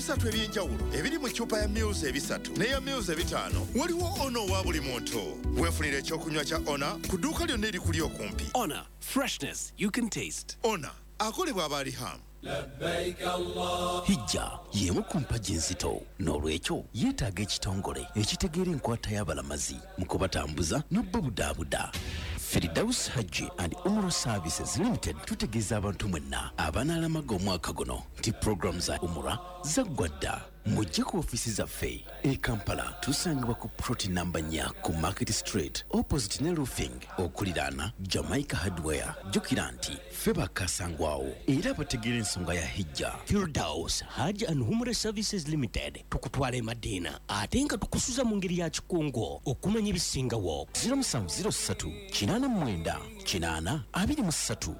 Ebisatu eby'enjawulo ebiri mu ccupa ya mils 3 n'eya mils 5, waliwo Ona owa buli muntu. Weefunira ekyokunywa kya Ona ku dduuka lyonna erikuli okumpi. Honor, freshness you can taste. Ona akolebwa aba Riham. Hijja y'emu ku mpagi enzito, n'olwekyo yeetaaga ekitongole ekitegeera enkwata y'abalamazi mu kubatambuza n'obubudaabuda. Firdaus Hajji and Umrah Services Limited tutegeeza abantu mwenna abanaalamaga omwaka guno nti pulogulaamu za Umrah zaggwa dda. Mujje ku ofiisi zaffe e Kampala, tusangibwa ku plot namba 4 ku Market Street opposite ne Roofing okuliraana Jamaica Hardware. Jjukira nti ffe bakasangwawo era abategeera ensonga ya Hijja. Firdaus Hajj and Umrah Services Limited tukutwala e Madina ate nga tukusuza mu ngeri ya kikungo okumanya ebisingawo. 0703 89 80 23.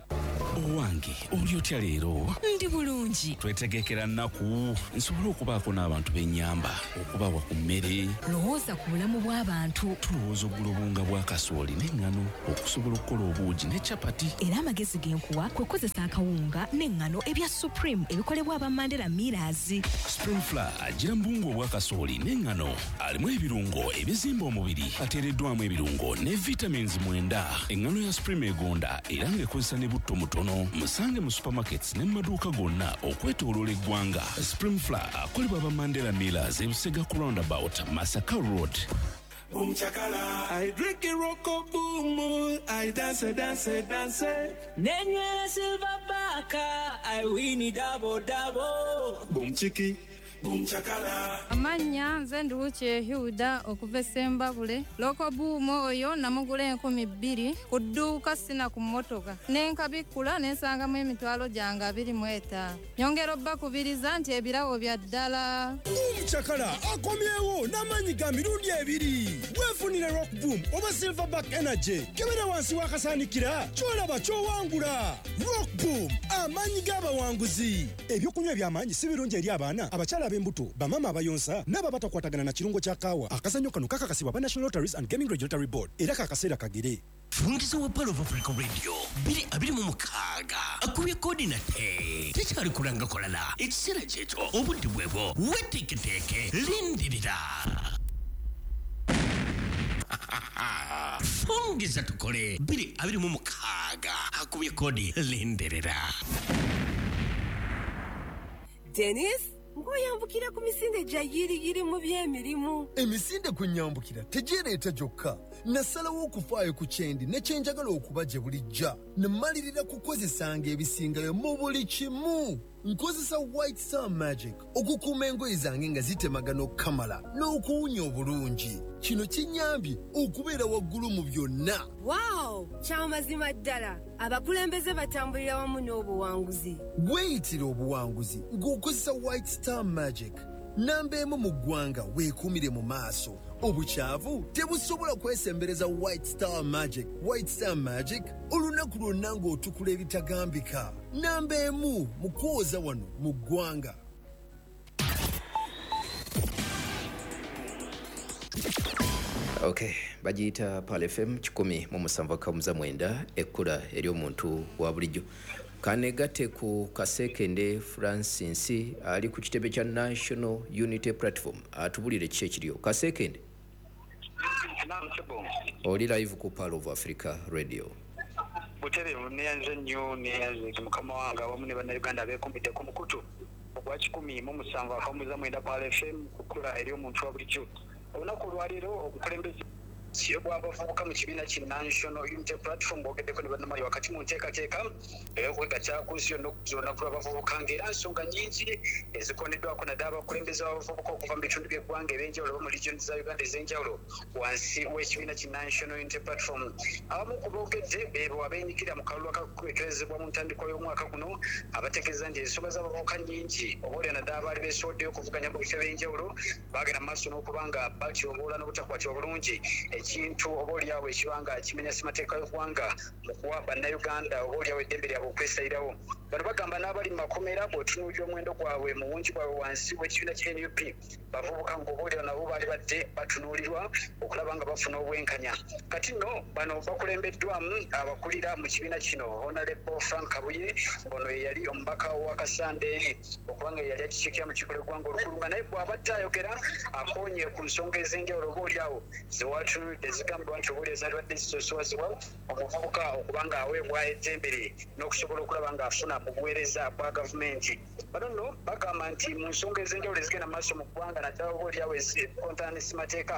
Owange, oli otya leero? Ndi bulungi. Twetegekera nnaku nsobole okubaako n'abantu b'ennyamba, okubawa ku mmere. Lowooza ku bulamu bw'abantu. Tulowooza okugula obuwunga bwa kasooli n'eŋŋano okusobola okukola obuugi ne capati. Era amagezi ge nkuwa kwe kukozesa akawunga n'eŋŋano ebya Supreme ebikolebwa aba Mandela Millers. Supreme Flour ajjira mu buwunga obwa kasooli n'eŋŋano, alimu ebirungo ebizimba omubiri, ateereddwamu ebirungo ne vitamins 9. Eŋŋano ya Supreme egonda era ng'ekozesa ne butto mutono. Musange mu supermarkets ne mu maduuka gonna okwetooloola eggwanga. Supreme Flour akolebwa aba Mandela Millers e Busega ku roundabout Masaka Road. Boom chakala. I drink a rocko boom. I dance, dance, dance. Nenywera silver baka. I win double, double. Boom chiki. Boom chakala. Amannya nze Nduwuki Hilda okuva e Ssembabule. Loko boom oyo namugula 2000 ku dduuka sina ku mmotoka. Ne nkabikkula ne nsangamu emitwalo gyange 25. Nyongera obbakubiriza nti ebirabo bya ddala. Boom chakala akomyewo n'amaanyi ga mirundi 2. Weefunire Rock Boom oba Silverback Energy. Kebera wansi w'akasaanikira ky'olaba ky'owangula. Rock Boom, amaanyi g'abawanguzi. Ebyokunywa eby'amaanyi si birungi eri abaana, abakyala ab'embuto, bamaama abayonsa n'abo abatakwatagana na kirungo kya kaawa. Akazannyo kano kakakasibwa aba National Lotteries and Gaming Regulatory Board era kakaseera kagere. Fungiza wa Pearl of Africa Radio 2026 akubye kodi nate tekyali kulanga kulala, ekiseera kyekyo obudde bwebwo, weteeketeeke, lindirira. Fungiza tukole 2026 akubye kodi, lindirira. Dennis, ng'oyambukira ku misinde gya yiriyiri mu by'emirimu. Emisinde kwe nnyambukira tegyereeta gyokka. Nasalawo okufaayo ku kyendi ne kye njagala okuba gye bulijja. Ne mmalirira kukozesanga ebisingayo mu buli kimu. Nkozesa White Star Magic okukuuma engoye zange nga zitemagana okukamala n'okuwunya obulungi. Kino kinnyambye okubeera waggulu mu byonna. Wow! Kyamazima ddala, abakulembeze batambulira wamu n'obuwanguzi. Weeyitire obuwanguzi ng'okozesa White Star Magic. Namba 1 mu ggwanga weekuumire mu maaso. Obukyavu tebusobola kwesembereza White Star Magic. White Star Magic olunaku lwonna ng'otukula ebitagambika. Namba 1 mu kwoza wano mu ggwanga. Okay, bagiyita Pearl FM 107.9, ekkula ery'omuntu wa bulijjo. Kanegatte ku Kasekende Francis ali ku kitebe kya National Unity Platform atubulire kiki ekiriyo. Kasekende, oli live ku Pearl of Africa Radio. Butereevu neyanze nnyo, neyanze mukama wange awamu ne bannayuganda abeekuumidde ku mukutu ogwa 107.9 Pearl FM ku kkula ery'omuntu wa bulijjo. Olunaku olwaleero obukulembeze bw'abavubuka mu kibiina ki National Unity Platform bwogeddeko ne bannamawulire wakati mu nteekateeka ey'okwegatta ku nsi yonna okukuza olunaku lw'abavubuka, ng'era nsonga nnyingi ezikoneddwako naddala abakulembeze b'abavubuka okuva mu bitundu by'eggwanga eb'enjawulo oba mu regions za Uganda ez'enjawulo wansi w'ekibiina ki National Unity Platform. Abamu ku boogedde beebo abeenyigira mu kalulu akakubekerezebwa mu ntandikwa y'omwaka guno, abategeeza nti ensonga z'abavubuka nnyingi oba olya naddala abaali beesowoddeyo okuvuganya mu bifo eby'enjawulo bagenda mu maaso n'okuba nga batyoboola n'obutakwatibwa bulungi. Ekintu oba oliawo ekibanga kimenya ssemateeka y'eggwanga mu kuwa bannayuganda oba oliawo eddembe lyabwe okwesayirawo. Bano bagamba n'abali mu makomera bw'otunuulira omuwendo gwabwe mu bungi bwabwe wansi w'ekibiina kya NUP bavubuka ng'oba oliawo nabo baali badde batunuulirwa okulaba nga bafuna obwenkanya. Kati nno bano bakulembeddwamu abakulira mu kibiina kino Honorable Frank Kabuye, ono ye yali omubaka wa Kasande okubanga ye yali akikiikira mu kiiko lw'eggwanga olukulu, nga naye bw'abadde ayogera akoonye ku nsonga ez'enjawulo oba oliawo zewatunuulidde zigambibwa nti oba oliawo zaalibadde zisoosowazibwa omuvubuka okuba nga aweebwa eddembe lye n'okusobola okulaba ng'afuna mu buweereza bwa gavumenti. Bano nno bagamba nti mu nsonga ez'enjawulo ezigenda mu maaso mu ggwanga naddala oba oliawo ezikontana ne ssemateeka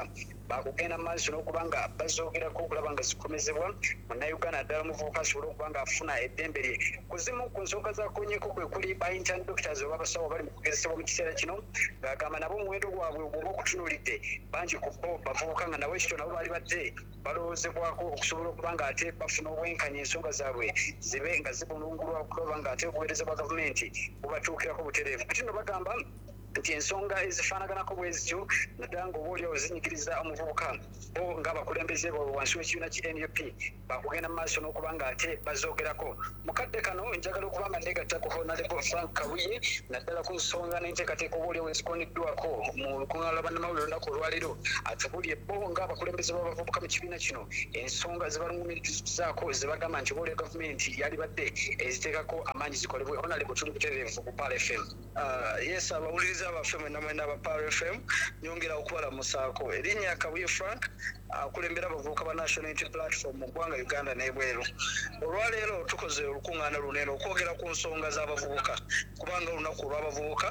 bakugenda mu maaso n'okuba nga bazoogerako okulaba nga zikomezebwa munnayuganda naddala omuvubuka asobole okuba ng'afuna eddembe lye. Ku zimu ku nsonga zakonyeeko kwe kuli ba intern doctors oba abasawo abali mu kugezesebwa mu kiseera kino, ng'agamba nabo omuwendo gwabwe bw'oba okutunuulidde bangi ku bo bavubuka nga nabo ekito nabo baali badde balowoozebwako okusobola okuba nga ate bafuna obwenkanya ensonga zaabwe zibe nga zibulungulwa okulaba nga ate obuweereza bwa gavumenti bubatuukirako butereevu. Kati nno bagamba nti ensonga ezifaanaganako bwe zityo naddala ng'oba oliawo zinyigiriza omuvubuka bo ng'abakulembeze baabwe wansi w'ekibiina ki NUP bakugenda mu maaso n'okuba nga ate bazoogerako. Mu kadde kano njagala okuba nga neegatta ku Honorable Frank Kabuye naddala ku nsonga n'enteekateeka oba oliawo ezikoneddwako mu lukuŋŋaana lwa bannamawulire olunaku olwaleero, atubuulire bo ng'abakulembeze b'abavubuka mu kibiina kino ensonga ze balumirizaako ze bagamba nti oba oliawo gavumenti yalibadde eziteekako amaanyi zikolebwe. Honorable, tuli butereevu ku Pearl FM. Yes, abawuliriza baffe mwenna mwenna aba Pearl FM, nyongera okubalamusaako. Erinnya Kabuye Frank, akulembera abavubuka ba National Unity Platform mu ggwanga Uganda n'ebweru. Olwaleero tukoze olukuŋŋaana luno okwogera ku nsonga z'abavubuka, kubanga olunaku olw'abavubuka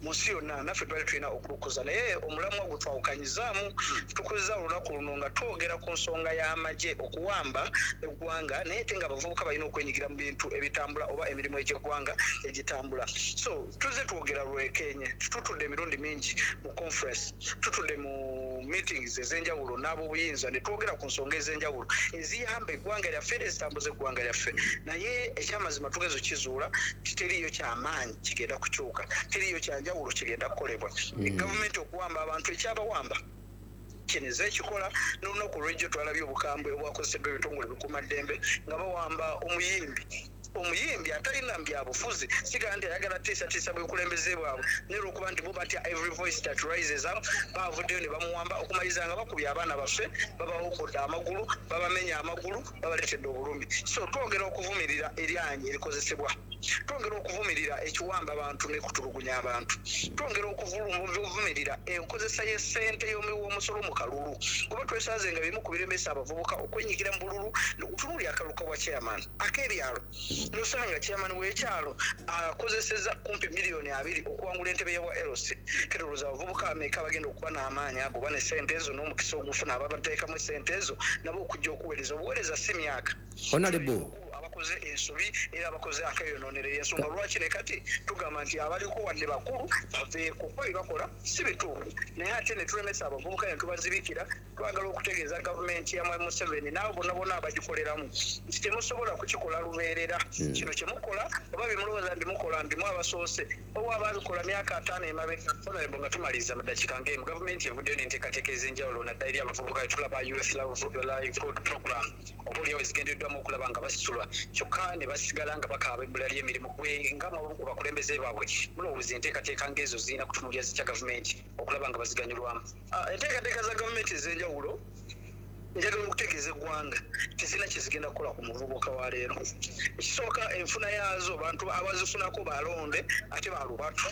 mu nsi yonna naffe twali tulina okulukuza, naye omulamwa gwe twawukanyizaamu. Tukuziza olunaku luno nga twogera ku nsonga y'amagye okuwamba eggwanga, naye ate nga abavubuka balina okwenyigira mu bintu ebitambula oba emirimu egy'eggwanga egitambula. So tuzze twogera lwekenye, tutudde emirundi mingi mu conference, tutudde mu meetings ez'enjawulo n'ab'obuyinza ne twogera ku nsonga ez'enjawulo eziyamba eggwanga lyaffe era ezitambuza eggwanga lyaffe, naye ekyamazima tugeza okizuula nti teriiyo kyamaanyi kigenda kukyuka, teriiyo kyanjawulo kigenda kukolebwa. Gavumenti okuwamba abantu ekyabawamba kineze ekikola n'olunaku olw'ejjo twalabye obukambwe obwakozeseddwa ebitongole bikuumaddembe nga bawamba omuyimbi atalina byabufuzi, sigaa nti ayagala tiisatiisa bwekulembeze bwabwe, naye olwokuba nti bo batya every voice that rises up, bavuddeyo ne bamuwamba okumaliriza nga bakubye abaana baffe, babawokkodde amagulu, babamenya amagulu, babaleetedde obulumi. So twongera okuvumirira eryanyi erikozesebwa, twongera okuvumirira ekiwamba abantu n'ekutulugunya abantu, twongera okuvumirira enkozesa y'essente y'omuwi w'omusolo mu kalulu, kuba twesanze nga bimu ku biremesa abavubuka okwenyigira mu bululu. Tunuulira akalulu ka bwa chairman ak'ebyalo, nosanga chairman w'ekyalo akozeseza kumpi miliyoni 20 okuwangula entebe ya bwa LC. Ketolooza abavubuka ameka bagenda okuba n'amaanyi ago oba ne ssente ezo n'omukisa ogufuna ababateekamu essente ezo nabo okujja okuweereza obuweereza si myaka Honorable abakoze ensobi era abakoze akeyonoonera. Ensonga lwaki ne kati tugamba nti abaliko wadde bakulu baveeko, kuba bye bakola si bituufu, naye ate ne tulemesa abavubuka ne tubazibikira. Twagala okutegeeza gavumenti ya Mwami Museveni n'abo bonna bonna abagikoleramu nti temusobola kukikola lubeerera. Kino kyemukola oba bye mulowooza nti mukola ndimu abasoose oba ababikola myaka 50 emabega. Honorable, nga tumaliriza mu ddakiika ng'emu, gavumenti evuddeyo n'enteekateeka ez'enjawulo naddala eri abavubuka. Tulaba Youth Livelihood Program oba oliawo ezigendereddwamu okulaba nga basitulwa, kyokka ne basigala nga bakaaba ebbula ly'emirimu. Gwe nga mu ku bakulembeze baabwe, mulowooza enteekateeka ng'ezo zirina kutunuulira zitya gavumenti okulaba nga baziganyulwamu? Enteekateeka za gavumenti ez'enjawulo, njagala okutegeeza eggwanga tezirina kyezigenda kukola ku muvubuka wa leero. Ekisooka, enfuna yaazo bantu abazifunako balonde ate balubatu.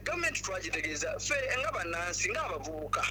Gavumenti twagitegeeza ffe nga bannansi ng'abavubuka.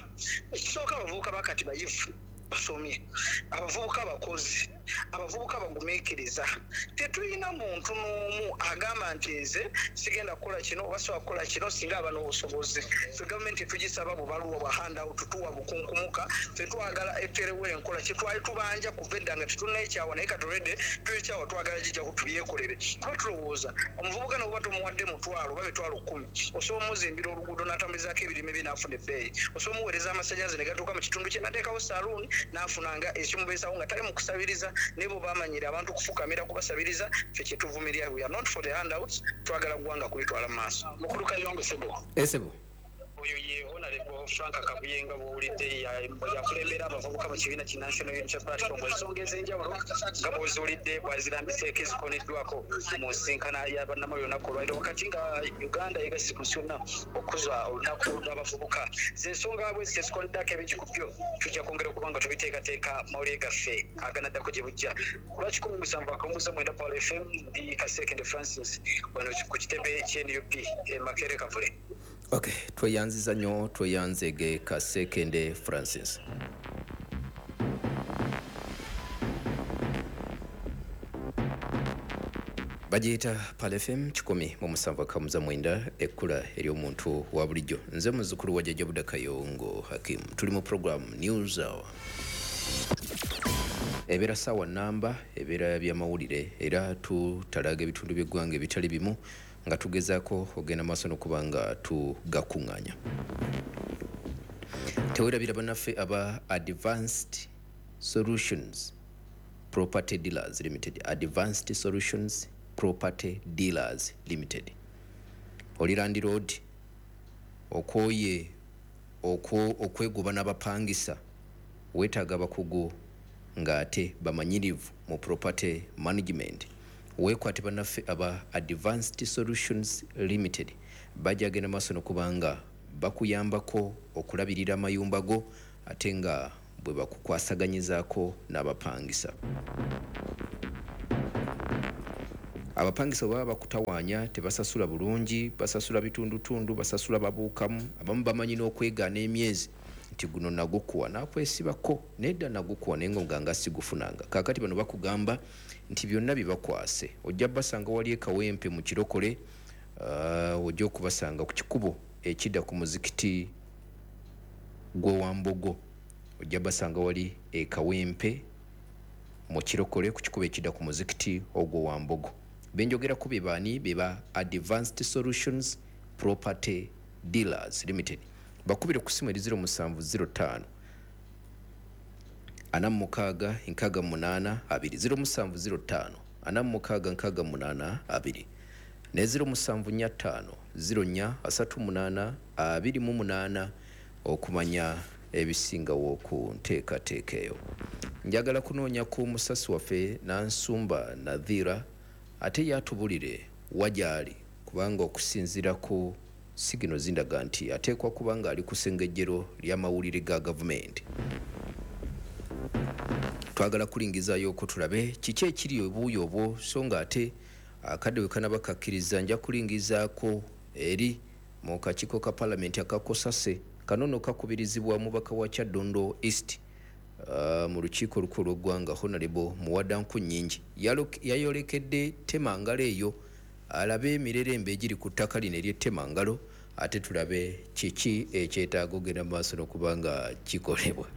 Ekisooka, abavubuka bakati bayivu, basomye, abavubuka bakozi, abavubuka bagumiikiriza. Tetulina muntu n'omu agamba nti nze sigenda kukola kino oba sobola kukola kino singa aba n'obusobozi. Ffe gavumenti tetugisaba bubaluwa bwa handout, tuwa bukunkumuka. Ffe twagala eterewo enkola kyetwali tubanja kuva edda nga tetunnayekyawa, naye katoledde tuyekyawa, twagala gijjaku tubyekolere, kuba tulowooza omuvubuka nobuba tomuwadde mutwalo oba 100,000, osobola omuzimbira oluguudo n'atambulizaako ebirime bye n'afuna ebbeeyi, osobola omuweereza amasannyalaze ne gatuuka mu kitundu kye, n'ateekawo saluuni n'afunanga ekimubeesawo nga tali mu kusabiriza. Naye bo bamanyire abantu kufukamira kubasabiriza. Ffe kyetuvumirira, we are not for the handouts. Twagala ggwanga kulitwala mu maaso. Mukulu Kayongo, sebo. Esebo. Oyo ye Honorable Oyo Frank Kabuye nga bw'owulidde yakulembera abavubuka mu kibiina ki National Unity Platform. Ensonga ez'enjawulo nga bw'oziwulidde bw'azirambiseeko ezikoneddwako mu nsinkana ya bannamawulire olunaku olwaleero, wakati nga Uganda yegasse ku nsi yonna okukuza olunaku lw'abavubuka. Z'ensonga bwe zityo ezikoneddwako ebingi ku byo tujja kwongera okuba nga tubiteekateeka mawulire gaffe aganaddako gye bujja. Ku lwa 107.9 Pearl FM, ndi Kasekende Francis wano ku kitebe ky'NUP e Makerere Kavule. Okay, tweyanziza nnyo, tweyanzege Kasekende Francis. Bagiyita Pearl FM 107.9, ekkula ery'omuntu wa bulijjo. Nze muzzukulu wa Jjajja Buda Kayongo Hakim. Tuli mu program News Hour. Ebeera ssaawa namba, ebeera byamawulire, era tutalaga ebitundu by'eggwanga ebitali bimu nga tugezaako ogenda maaso n'okuba nga tugakuŋŋaanya. Teweerabira bannaffe aba Advanced Solutions Property Dealers Limited. Advanced Solutions Property Dealers Limited. Oli landlord, okwoye okwegoba n'abapangisa, weetaaga abakugu ng'ate bamanyirivu mu property management. Weekwate bannaffe aba Advanced Solutions Limited, bajja genda maaso n'okubanga bakuyambako okulabirira amayumba go, ate nga bwe bakukwasaganyizaako n'abapangisa. Abapangisa bwe baba bakutawaanya, tebasasula bulungi, basasula bitundutundu, basasula babuukamu, abamu bamanyi n'okwegaana emyezi nti guno nagukuwa nakwesibako, nedda nagukuwa naye nga nga sigufunanga. Kaakati bano bakugamba nti byonna bibakwase. Ojja basanga wali e Kawempe mu Kirokole, ojja okubasanga ku kikubo ekidda ku muzikiti gw'Owambogo. Ojja basanga wali e Kawempe mu Kirokole ku kikubo ekidda ku muzikiti ogw'Owambogo. Benjogerako be baani? Be ba Advanced Solutions Property Dealers Limited. Bakubire ku ssimu eri 0705 46 68 2, 0705 46 68 2 ne 0745 04 38 28 okumanya ebisingawo ku nteekateeka eyo. Njagala kunoonya ku musasi waffe Nansumba Nadhira ate yatubulire wagyali, kubanga okusinziira ku sigino zindaga nti ateekwa kubanga ali ku ssengejjero ly'amawulire ga gavumenti. Twagala kulingizaayo okwo tulabe kiki ekiri obuuyi obwo, so nga ate akadde we kanaba kakkiriza nja kulingizaako eri mu kakiiko ka palamenti akakosase kano nno kakubirizibwa omubaka wa Kyaddondo East mu lukiiko olukulu lw'eggwanga Honorable Muwada Nkunnyingi. Yayolekedde Temangalo eyo alabe emirerembe egiri ku ttaka lino ery'Ettemangalo, ate tulabe kiki ekyetaaga ogenda mu maaso n'okuba nga kikolebwa.